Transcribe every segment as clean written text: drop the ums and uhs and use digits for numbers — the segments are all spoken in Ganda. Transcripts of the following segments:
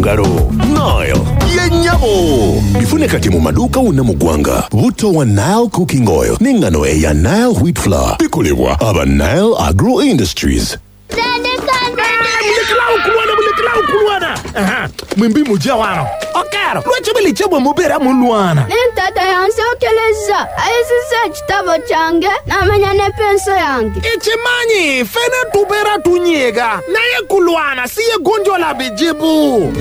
Ngalo Nile ye nnyabo. Bifune kati mu maduuka wonna mu ggwanga. Butto wa Nile Cooking Oil n'engano eya Nile Wheat Flour bikolebwa aba Nile Agro Industries. Mulekerawo okulwana! Mulekerawo okulwana! Mwembi muje wano. Okero, lwaki buli bwe mubeera mulwana? Ni tata yansookerezza, ayuzizza ekitabo kyange n'amenya ne penso yange. Ekimanyi ffena tubeera tunyiiga naye kulwana si ye gonjoola bizibu.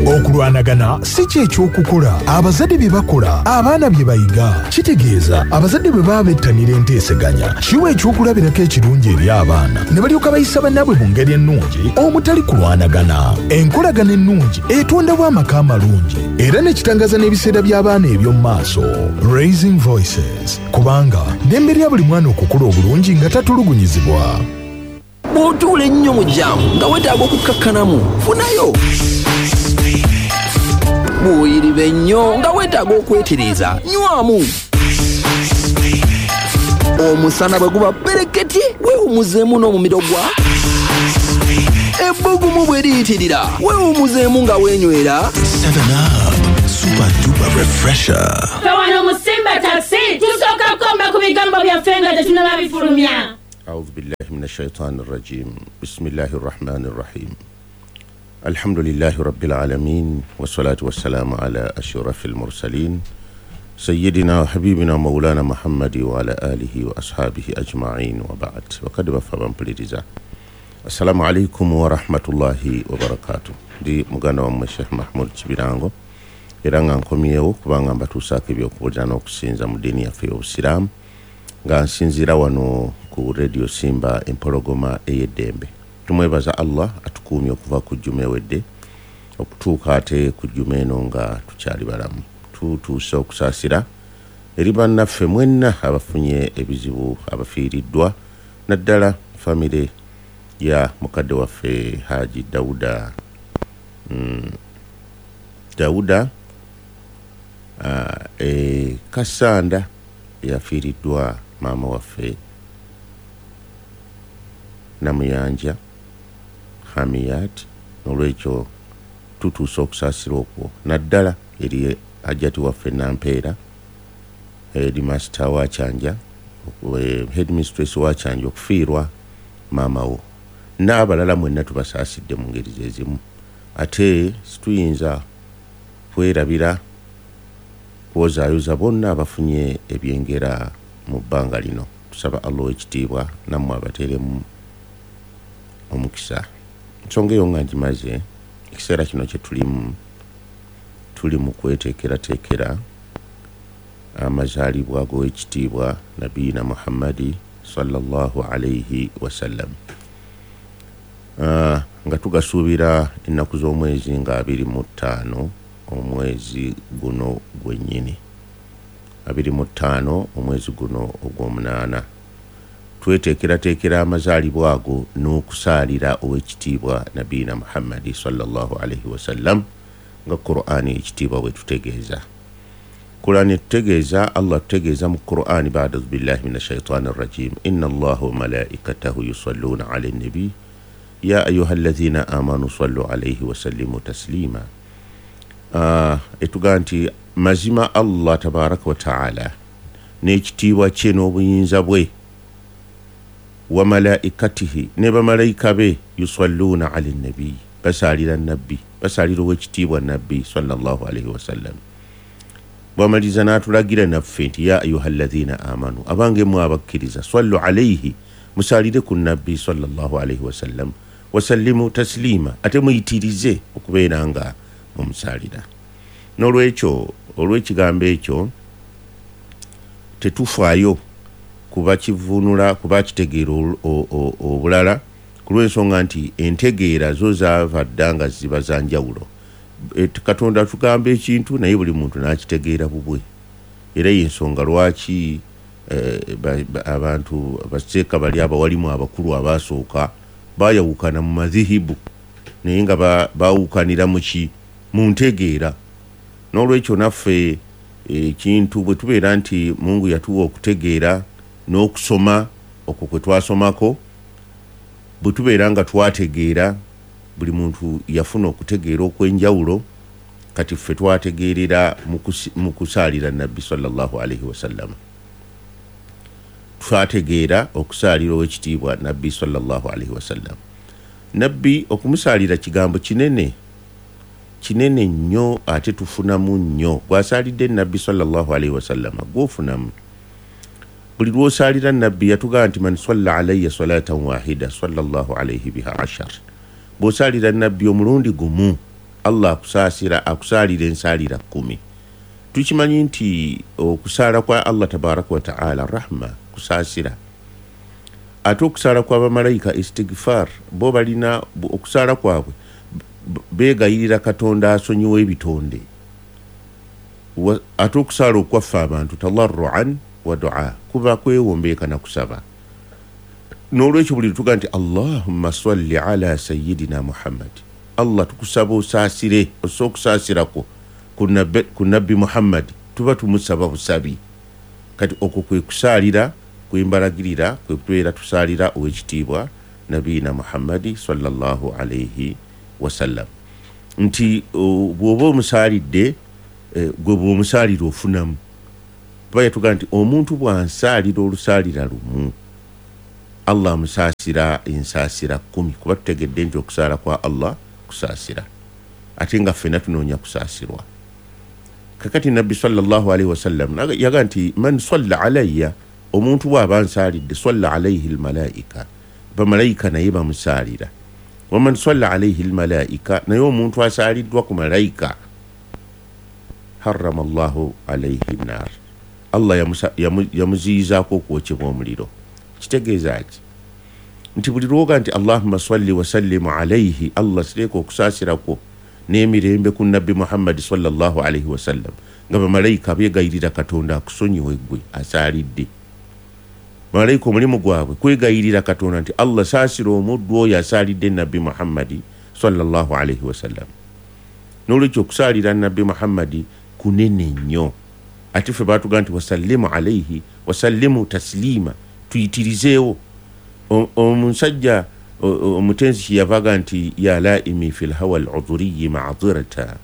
Okulwanagana si kye ky'okukola. Abazadde bye bakola, abaana bye bayiga. Kitegeeza abazadde bwe baba bettanira enteeseganya, kiwa ekyokulabirako ekirungi eri abaana ne balyoka bayisa bannaabwe mu ngeri ennungi omutali kulwanagana. Enkolagana ennungi etondawo amaka amalungi era ne kitangaza n'ebiseera by'abaana eby'omu maaso. Raising Voices, kubanga ddembe lya buli mwana okukula obulungi nga tatulugunyizibwa. Bw'otuula ennyo mu jaamu nga weetaaga okukkakkanamu, funayo. Bw'oyiriba ennyo nga weetaaga okwetereeza, nywamu. Omusana bwe guba ppereketye, weewummuzeemu n'omumiro gwa. Ebbugumu bwe liyitirira, weewummuzeemu nga weenywera. 7up Super Duper Refresher. Ffe wano mu Simba Taxi tusooka kukomba ku bigambo byaffe nga tetunnaba bifulumya. أعوذ بالله من الشيطان الرجيم بسم الله الرحمن الرحيم الحمد لله رب العالمين والصلاة والسلام على أشرف المرسلين سيدنا وحبيبنا مولانا محمد وعلى آله وأصحابه أجمعين وبعد وقد وفى بمبلiriza السلام عليكم ورحمة الله وبركاته ndi muganda wammwe Sheikh Mahmoud Kibirango era nga nkomyewo kubanga mbatuusaako ebyokubuulira n'okusinza mu ddiini yaffe y'Obusiraamu nga nsinziira wano ku Radio Simba Empologoma ey'eddembe. Tumwebaza Allah atukuumye okuva ku jjuma ewedde okutuuka ate ku jjuma eno nga tukyali balamu. Tutuuse okusaasira eri bannaffe mwenna abafunye ebizibu, abafiiriddwa, naddala famire ya mukadde waffe Haji Dauda Dauda Kasanda yafiiriddwa maama waffe Namuyanja Hamiyat. N'olwekyo tutuuse okusaasira okwo naddala eri hajjati waffe Nampeera, headmaster wa Kyanja, headmistress wa Kyanja okufiirwa maama wo n'abalala mwenna tubasaasidde mu ngeri ze zimu. Ate situyinza kwerabira kwozaayoza bonna abafunye ebyengera mu bbanga lino. Tusaba Allah ow'ekitiibwa nammwe abateeremu omukisa. Ensonga eyo nga ngimaze, ekiseera kino kye tulimu, tuli mu kweteekerateekera amazaalibwa g'owekitiibwa Nabiyina Muhammadi sallallahu alaihi wasallam, nga tugasuubira ennaku z'omwezi nga 25 omwezi guno gwennyini, 25 omwezi guno ogw'omunaana. Tweteekerateekera amazaalibwa ago n'okusaalira owekitiibwa Nabiyina Muhammadi sallallahu alaihi wasallam nga Qur'ani ekitiibwa bwe tutegeeza. Qur'ani etutegeeza, Allah atutegeeza mu Qur'ani ba'da billahi minash shaitani rrajim inna Allaha wa malaikatahu yusalluna ala nabi ya ayyuhalladhina amanu sallu alaihi wa sallimu taslima. Etugaa nti mazima Allah tabaraka wa ta'ala n'ekitiibwa kye n'obuyinza bwe wa malaikatihi ne bamalayika be yusalluna ala nabi, basaalira nabbi, basaalira owekitiibwa nabbi sallallahu alaihi wasallam. Bwamaliza n'atulagira naffe nti ya ayyuhalladhina amanu, abange mmwe abakkiriza, sallu alaihi, musaalire ku nabbi sallallahu alaihi wasallam, wasallimu taslima, ate muyitirize okubeera nga mumusaalira. N'olwekyo olw'ekigambo ekyo tetufaayo kuba kivvuunula, kuba kitegeera obulala, ku lw'ensonga nti entegeera zo zaava dda nga ziba za njawulo. Katonda atugamba ekintu naye buli muntu n'akitegeera bubwe. Era y'ensonga lwaki abantu abaseeka bali abawalimu abakulu abaasooka baayawukana mu madhihibu, naye nga baawukanira mu ki? Mu ntegeera. N'olwekyo naffe ekintu bwe tubeera nti Mungu yatuwa okutegeera n'okusoma okwo kwe twasomako, bwe tubeera nga twategeera Buli muntu yafuna okutegeera okw'enjawulo. Kati ffe twategeerera mu kusaalira Nabbi sallallahu alaihi wasallam. Twategeera okusaalira ow'ekitiibwa Nabbi sallallahu alaihi wasallam. Nabbi okumusaalira kigambo kinene kinene nnyo, ate tufunamu nnyo. Gwasaalidde Nabbi sallallahu alaihi wasallam gwofunamu. Buli lw'osaalira Nabbi yatugamba nti man salla alayya salatan wahida sallallahu alaihi biha ashar. Bw'osaalira Nabbi omulundi gumu, Allah akusaasira, akusaalira ensaalira 10. Tukimanyi nti okusaala kwa Allah tabaraka wa taala rahma, kusaasira. Ate okusaala kwa bamalayika istighfar, bo balina okusaala kwabwe beegayirira Katonda asonyiwe ebitonde. Ate okusaala okwaffe abantu tadarruan wa dua, kuba kwewombeeka na kusaba. N'olwekyo buli tuga nti Allahumma salli ala sayyidina Muhammad, Allah tukusaba osaasire, ossa okusaasirako ku Nabbi Muhammad, tuba tumusaba busabi. Kati okwo kwe kusaalira kwembalagirira kwe kubeera tusaalira ow'ekitiibwa Nabiyina Muhammadi sallallahu alaihi wasallam. Nti bw'oba omusaalidde, gwe bw'omusaalira ofunamu. Kuba yatugaa nti omuntu bw'ansaalira olusaalira lumu, Allah amusaasira ensaasira 10. Kuba tutegedde nti okusaala kwa Allah kusaasira, ate nga ffenna tunoonya kusaasirwa. Kakati Nabbi sallallahu alaihi wasallam yaga nti man salla alayya, omuntu bw'aba ansaalidde, salla alaihi almalaika, bamalayika naye bamusaalira. Waman salla alaihi almalaika, naye omuntu asaaliddwa ku malayika, harrama Allahu alaihi nnar, Allah yamuziyizaako okwokyebwa omuliro. Kitegeeza ki? Nti buli lwoga nti Allahumma salli wa sallimu alaihi, Allah sireka okusaasirako n'emirembe ku Nabbi Muhammadi sallallahu alaihi wasallam, nga bamalayika beegayirira Katonda akusonyiwe ggwe asaalidde. Bamalayika omulimu gwabwe kwegayirira Katonda nti Allah saasira omuddu oyo asaalidde Nabbi Muhammadi sallallahu alaihi wasallam. N'olwekyo okusaalira Nabbi Muhammadi kunene nnyo. Ate ffe baatugaa nti wasallimu alaihi wasallimu tasliima, tuyitirizeewo. Omusajja omutenzi kyeyavaga nti ya laimi fi lhawa aludhuriyi ma'dhirata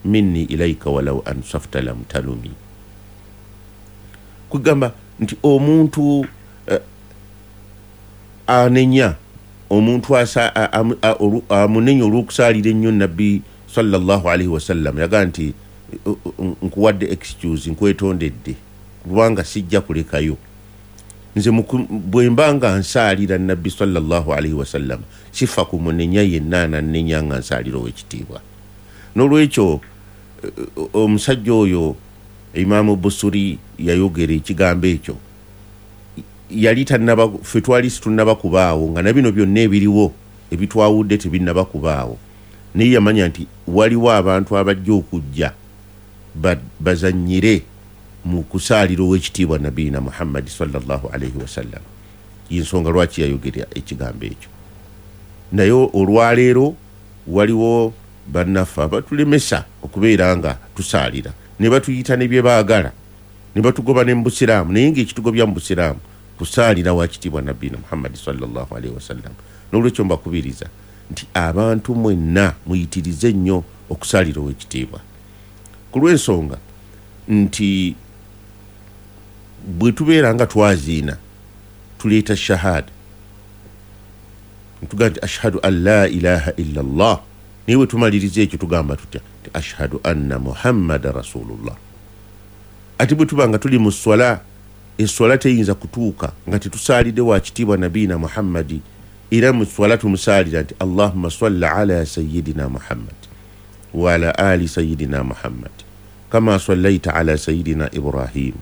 minni ilaika walau ansafta lam talumi. Kugamba nti omuntu anenya, omuntu amunenya olw'okusaalira ennyo Nabbi sallallahu alaihi wasallam, yagaa nti nkuwadde excuse, nkwetondedde kubanga sijja kulekayo. Nze bwe mba nga nsaalira Nabbi sallallahu alaihi wasallam sifa kumunenya yenna anannenya nga nsaalira ow'ekitiibwa. N'olwekyo omusajja oyo Imaamu Busuri yayogera ekigambo ekyo, yali tannaba, ffe twali situnnaba kubaawo, nga na bino byonna ebiriwo ebitwawudde tebinnaba kubaawo. Naye yamanya nti waliwo abantu abajja okujja bazannyire mu kusaalira ow'ekitiibwa Nabiyina Muhammadi sallallahu alaihi wasallam. Y'ensonga lwaki yayogera ekigambo ekyo. Naye olwaleero waliwo bannaffe abatulemesa okubeera nga tusaalira, ne batuyita ne bye baagala, ne batugoba ne mu busiraamu. Naye ng'ekitugobya mu busiraamu kusaalira wa kitiibwa Nabiyina Muhammadi sallallahu alaihi wasallam. N'olwekyo mbakubiriza nti abantu mwenna muyitirize nnyo okusaalira ow'ekitiibwa, ku lw'ensonga nti bwe tubeera nga twaziina tuleeta shahada, ntugamba nti ashhadu an la ilaha illa Allah. Naye bwe tumaliriza ekyo tugamba tutya? Nti ashhadu anna Muhammada rasulullah. Ate bwe tuba nga tuli mu swala, eswala teyinza kutuuka nga tetusaalidde wa kitiibwa Nabiyina Muhammadi. Era mu swala tumusaalira nti Allahumma salli ala sayyidina Muhammad wa ala ali sayyidina Muhammad kama sallaita ala sayyidina Ibrahim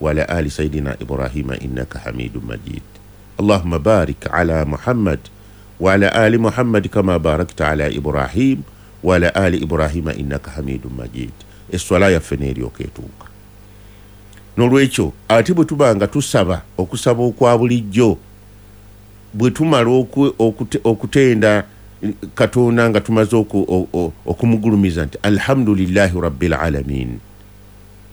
wa ala ali sayyidina Ibrahima innaka hamidun majid. Allahumma barik ala Muhammad wa ala ali Muhammad kama barakta ala Ibrahim wa ala ali Ibrahima innaka hamidun majid. Eswala yaffe n'eryoka etuuka. N'olwekyo ate bwe tuba nga tusaba okusaba okwa bulijjo, bwe tumala okutenda Katonda nga tumaze okumugulumiza nti alhamdulillahi rabbil alamin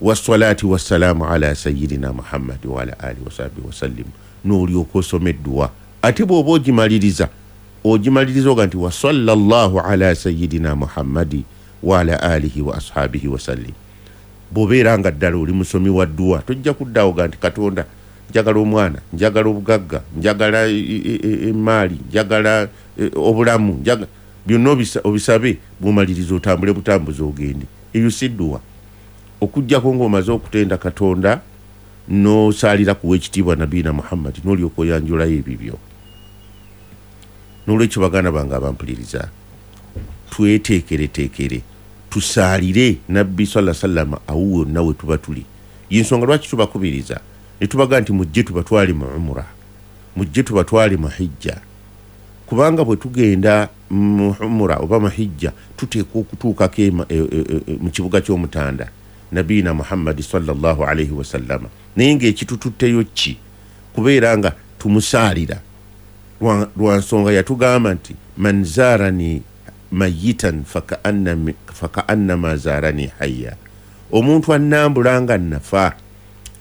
wassalati wassalamu ala sayyidina Muhammad wa ala alihi wasahbihi wasallim, n'olyoka osoma edduwa. Ate bw'oba ogimaliriza Ogimaliriza oga nti wa sallallahu ala sayyidina Muhammadi wa ala alihi wa ashabihi wa sallim. Bw'obeera nga ddala oli musomi wa dduwa, tojja kuddawo ga nti Katonda njagala omwana, njagala obugagga, njagala emaali, njagala obulamu, byonna obisabe, bw'omaliriza otambule butambuzi ogende. Eyo si dduwa. Okuggyako ng'omaze okutenda Katonda n'osaalira kuwa ekitiibwa Nabbiina Muhammad, n'olyoka oyanjulayo ebibyo. N'olwekyo baganda bange abampuliriza, tweteekereteekere tusaalire Nabbi sallallahu alaihi wasallam awo wonna we tuba tuli. Y'ensonga lwaki tubakubiriza ne tubaga nti mujje tubatwale mu umura, mujje tubatwale mu hijja, kubanga bwe tugenda mu umura oba mu hijja tuteekwa okutuukako mu kibuga ky'Omutanda Nabbiina Muhammad sallallahu alaihi wasallam. Naye ng'ekitututteyo ki? Kubeera nga tumusaalira lwa nsonga yatugamba nti man zarani mayitan fakaannama zarani hayya. Omuntu annambula nga nnafa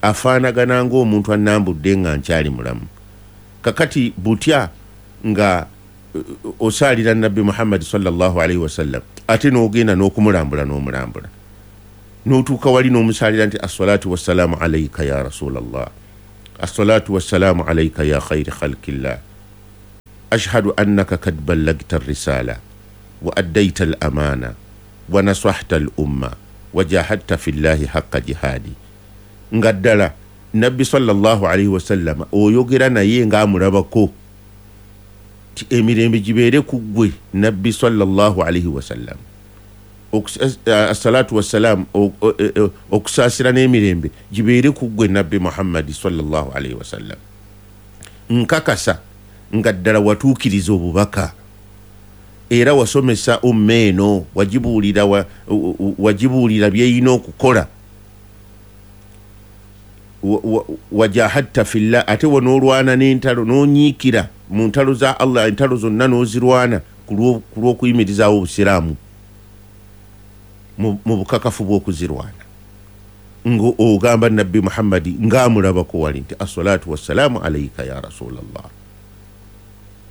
afaanagana ng'omuntu annambudde nga nkyali mulamu. Kakati butya nga osaalira Nabbi Muhammad sallallahu alaihi wasallam ate n'ogenda n'okumulambula n'omulambula n'otuuka wali n'omusaalira nti assalatu wassalaamu alaika ya rasulallah, assalatu wassalaamu alaika ya khairi khalqillah, ashhadu annaka kad ballagta arrisala wa addaita al-amana wa nasahta al-umma wa jahadta fillahi haqqa jihadi. Nga ddala Nabbi sallallahu alaihi wasallam oyogera naye ng'amulabako ti emirembe gibeere ku ggwe Nabbi sallallahu alaihi wasallam. Assalatu wassalam, okusaasira n'emirembe gibeere ku ggwe Nabbi Muhammad sallallahu alaihi wasallam. Nkakasa nga ddala watuukiriza obubaka era wasomesa umma eno, wagibuulira byeyina okukola. Wajahadta fillah, ate wanoolwana n'entalo n'onyiikira mu ntalo za Allah, entalo zonna n'ozirwana ku lw'okuyimirizaawo obusiraamu mu bukakafu bw'okuzirwana, ng'ogamba Nabbi Muhammadi ng'amulabako wali nti assalatu wassalaamu alaika ya rasulallah,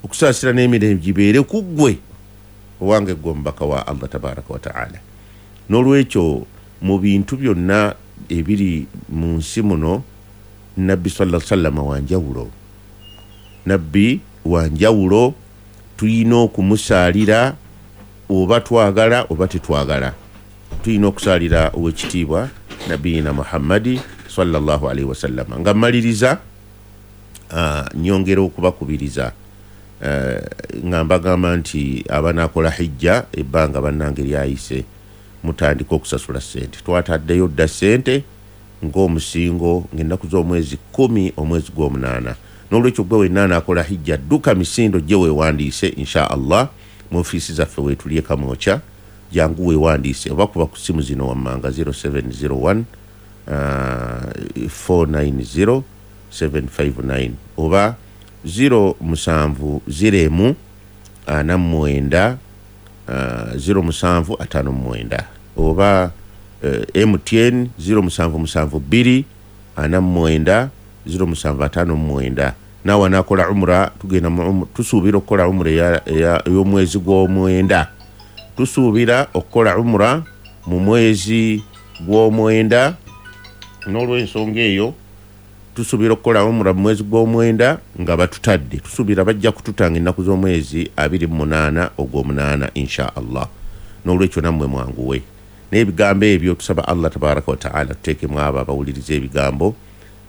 okusaasira n'emirembe gibeere ku ggwe owange ggwe omubaka wa Allah tabaraka wa taala. N'olwekyo mu bintu byonna ebiri mu nsi muno Nabbi sallallahu alaihi wasallam wanjawulo, Nabbi wanjawulo, tuyina okumusaalira oba twagala oba tetwagala. Tuyina okusaalira owekitiibwa Nabbiina Muhammadi sallallahu alaihi wasallam. Nga mmaliriza nyongera okubakubiriza nga mbagamba nti abanaakola hijja ebbanga bannange lyayise mutandika okusasula ssente. Twataddeyo dda ssente ng'omusingo ng'ennaku z'omwezi 10 omwezi gw'omunaana. N'olwekyo gwe wenna anaakola hijja dduka misindo gye weewandiise insha Allah mu ofiisi zaffe weetuli e Kamwokya, jangu weewandiise oba kuba ku ssimu zino wammanga 0701 490 759 oba 07 0 49 0759 oba MTN 0772 49 0759. Nawe anaakola umra tugenda tusuubira okukola umra y'omwezi gw'omwenda, tusuubira okukola umra mu mwezi gw'omwenda. N'olw'ensonga eyo tusuubira okukola umra mu mwezi gw'omwenda nga batutadde, tusuubira bajja kututanga ennaku z'omwezi 28 ogw'omunaana insha Allah. N'olwekyo nammwe mwanguwe n'ebigambo ebyo. Tusaba Allah tabaraka wa taala tuteekemu abo abawuliriza ebigambo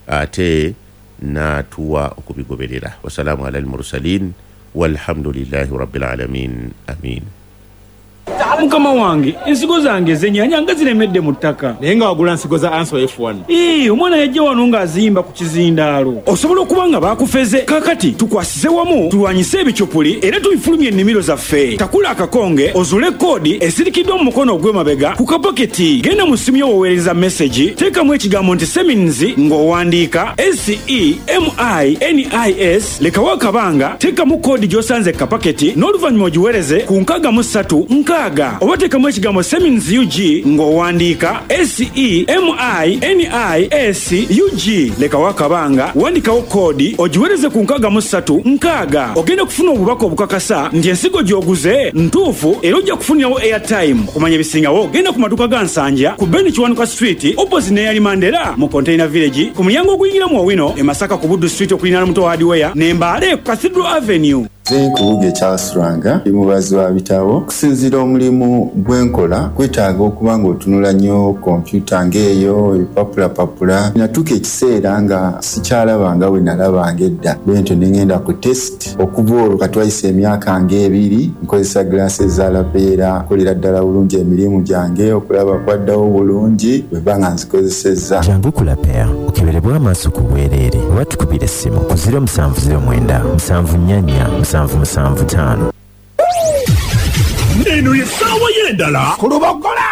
ate n'atuwa okubigoberera. Wasalaamu ala al-mursalin walhamdulillahi rabbil alamin, amin. Mukama wange, ensigo zange ez'ennyaanya nga ziremedde mu ttaka. Naye nga wagula nsigo za Anso F1. Omwana yajja wano ng'azimba ku kizindaalo. Osobola okuba nga baakufeze. Kaakati tukwasize wamu tulwanyise ebicupuli era tubifulumye ennimiro zaffe. Takula akakonge ozule koodi esirikiddwa mu mukono ogw'emabega ku kapaketi. Genda mu ssimu yo w'oweereza mesegi, teekamu ekigambo nti Semins ng'owandiika SEMINIS, lekawo akabanga, teekamu koodi gy'osanze kapaketi n'oluvannyuma ogiweereze ku 63 6 6 oba teekamu ekigambo Semins UG ng'owandiika SEMINIS UG. Lekawo akabanga, wandikawo koodi ogiweereze ku 63 60. Ogenda kufuna obubaka obukakasa nti ensigo gy'oguze ntuufu era ojja kufunirawo airtime. Okumanya ebisingawo genda ku maduuka ga Nsanja ku Ben Kiwanuka Street opposite neyali Mandela mu Container Village, ku mulyango oguyingira mu Owino e Masaka ku Buddu Street okuliraana Muto Hardware ne Mbale ku Cathedral Avenue. Nze Nkubuge Charles Lwanga, ndi mubazi wa bitabo. Okusinziira omulimu gwe nkola kwetaaga okuba ng'otunula nnyo kompyuta ng'eyo ebipapulapapula. Natuuka ekiseera nga sikyalaba nga bwe nalabanga edda, bwentyo ne ŋŋenda ku test. Okuva olwo katwayisa emyaka ng'ebiri nkozesa glasses za Lapeera. Nkolera ddala bulungi emirimu gyange, okulaba kwaddawo bulungi bwe mba nga nzikozesezza. Jangu ku Lapeer okeberebwe amaaso ku bwereere oba tukubire essimu ku 0709 744 775. Eno ye ssaawa y'endala ku Lubogola.